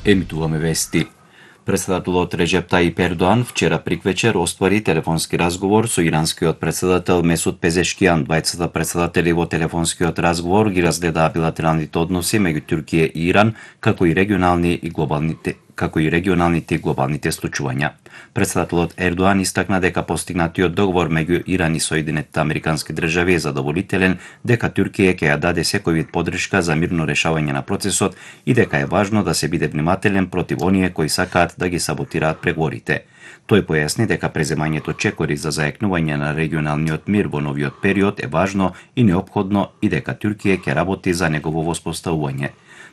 Емитуваме вести. Председателот Реджеп Таип Ердоан вчера приквечер оствари телефонски разговор со иранскиот председател Месуд Пезешкијан. Двајцата председатели во телефонскиот разговор ги разгледаа билатералните односи меѓу Турција и Иран, како и регионалните и глобалните случувања. Председателот Ердоан истакна дека постигнатиот договор меѓу Иран и Соединетите Американски држави е задоволителен, дека Турција ќе ја даде секој вид поддршка за мирно решавање на процесот и дека е важно да се биде внимателен против оние кои сакаат да ги саботираат преговорите. Тој појасни дека преземањето чекори за заекнување на регионалниот мир во новиот период е важно и неопходно и дека Турција ќе работи за негово воспоставување.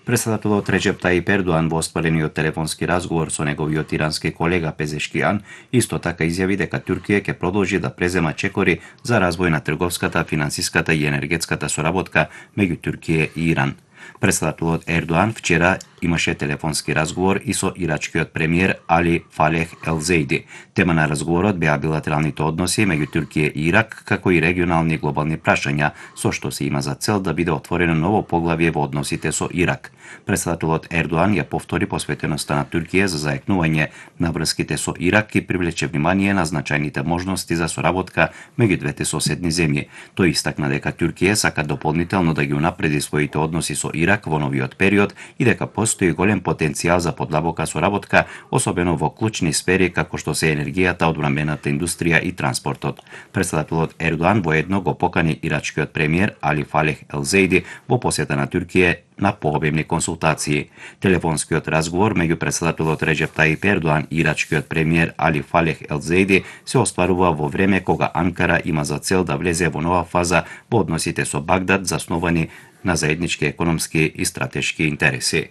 Председателот Реджеп Таип Ердоан во остварениот телефонски разговор со неговиот ирански колега Пезешкијан исто така изјави дека Турција ќе продолжи да презема чекори за развој на трговската, финансиската и енергетската соработка меѓу Турција и Иран. Председателот Ердоан вчера имаше телефонски разговор и со ирачкиот премиер Али Фалех Елзейди. Тема на разговорот беа билатералните односи меѓу Турција и Ирак, како и регионални и глобални прашања, со што се има за цел да биде отворено ново поглавје во односите со Ирак. Председателот Ердоан ја повтори посветеноста на Турција за заекнување на врските со Ирак и привлече внимание на значајните можности за соработка меѓу двете соседни земји. Тој истакна дека Турција сака дополнително да ги унапреди своите односи со Ирак во новиот период и дека постои голем потенцијал за подлабока соработка, особено во клучни сфери како што се енергијата, одбранбената индустрија и транспортот. Председателот Ердоан воедно го покани ирачкиот премиер Али Фалех Елзейди во посета на Турција на пообемни консултации. Телефонскиот разговор меѓу председателот Реджеп Таип Ердоан и ирачкиот премиер Али Фалех Елзейди се остварува во време кога Анкара има за цел да влезе во нова фаза во односите со Багдад, засновани на заеднички економски и стратешки интереси.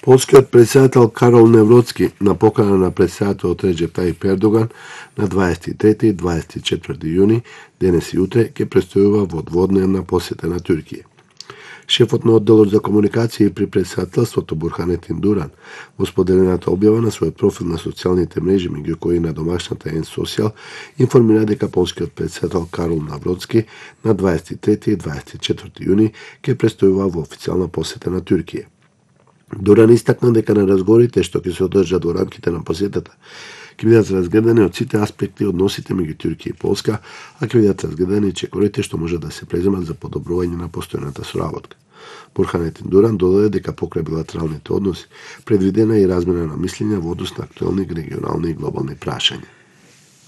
Полскиот председател Карол Невроцки на покана на председателот Реджеп Таип Ердоган на 23 и 24 јуни, денес и утре, ќе престојува во дводневна посета на Турција. Шефот на одделот за комуникација при председателството Бурханетин Дуран во споделената објава на својот профил на социјалните мрежи, меѓу кои на домашната N-Social, информира дека полскиот председател Карол Навроцки на 23 и 24 јуни ќе престојува во официјална посета на Турција. Дуран истакна дека на разговорите што ќе се одржат во рамките на посетата ќе бидат разгледани од сите аспекти односите меѓу Турција и Полска, а ќе бидат разгледани и чекорите што може да се преземат за подобрување на постојната соработка. Бурханетин Дуран додаде дека покрај билатералните односи предвидена и размена на мислења во однос на актуелни регионални и глобални прашања.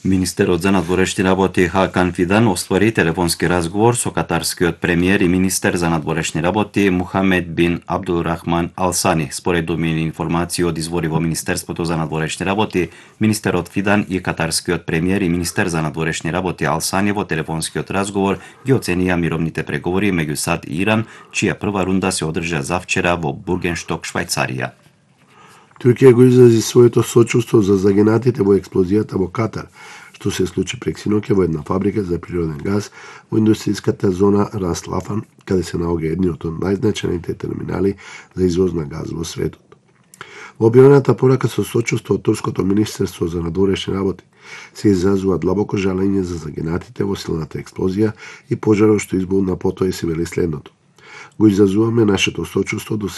Министерот за надворешни работи Хакан Фидан оствари телефонски разговор со катарскиот премиер и министер за надворешни работи Мухамед бин Абдулрахман Алсани. Според домини информации од извори во Министерството за надворешни работи, министерот Фидан и катарскиот премиер и министер за надворешни работи Алсани во телефонскиот разговор ги оценија мировните преговори меѓу САД и Иран, чија прва рунда се одржа завчера во Бургеншток, Швајцарија. Турција го изрази своето сочувство за загинатите во експлозијата во Катар, што се случи прексиноќа во една фабрика за природен газ во индустријската зона Рас Лафан, каде се наоѓа едниот од најзначајните терминали за извоз на газ во светот. Во објавената порака со сочувство од турското министерство за надворешни работи се изразува длабоко жалење за загинатите во силната експлозија и пожарот што избулна потоа и се вели следното: го изразуваме нашето сочувство до